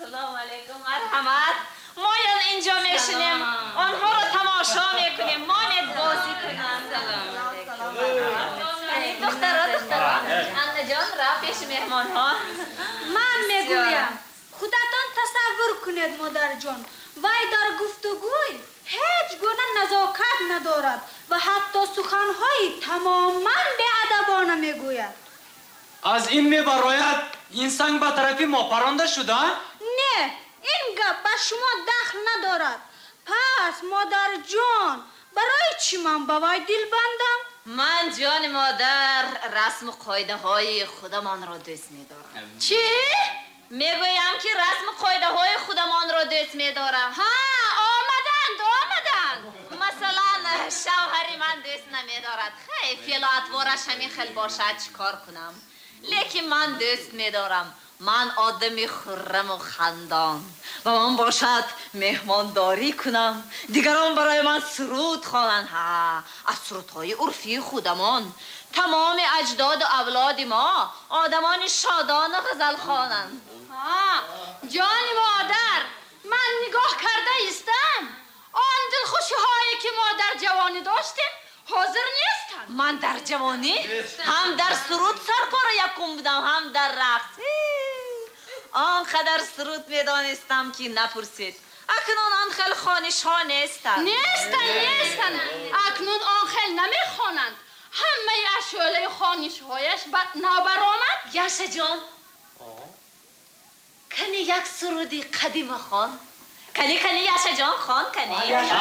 Салом алейкум, марҳамат. Моян инҷо мешинем, онҳоро тамошо мекунем, монед бозӣ кунанд. Духтаро, духтаро, Аннаҷон, рафт пеши меҳмонҳо. Ман мегӯям, худатон тасаввур кунед, модарҷон, вай дар гуфтугӯй ҳеҷ гуна назокат надорад ва ҳатто суханҳои тамоман беадабона мегӯяд. Аз ин мебарояд, ин санг ба тарафи мо паронда шуда? Не, ин гап ба шумо дахл надорад. Пас, модарҷон, барои чӣ ман ба вай дил бандам? Ман, ҷони модар, расму қоидаҳои худамонро дӯст медорам. Чӣ? Мегӯям, ки расму қоидаҳои худамонро дӯст медорам. Ҳа, омаданд, омаданд. Масалан, шавҳари ман дӯст намедорад. Хай, феълу атвораш ҳамин хел бошад, чӣ кор кунам? Лекин ман дӯст медорам. Ман одами хурраму хандон ва ман бошад меҳмондорӣ кунам, дигарон барои ман суруд хонанд. Ҳа, аз сурудҳои урфии худамон. Тамоми аҷдоду авлоди мо одамони шодону ғазалхонанд. Ҳа, ҷони модар, ман нигоҳ карда истам, он дилхушиҳое, ки мо дар ҷавонӣ доштем, ҳозир нестанд. Ман дар ҷавонӣ ҳам дар суруд сарпора якум будам, ҳам дар рақс. Он қадар суруд медонистам, ки напурсед. Акнун он хел хонишҳо нестанд. Нестанд, нестанд. Акнун он хел намехонанд. Ҳамаи ашёлаи хонишҳояш ба нобаромад. Яшаҷон, кани як суруди қадима хон. Кани, кани, Яшаҷон, хон, кани. Яша.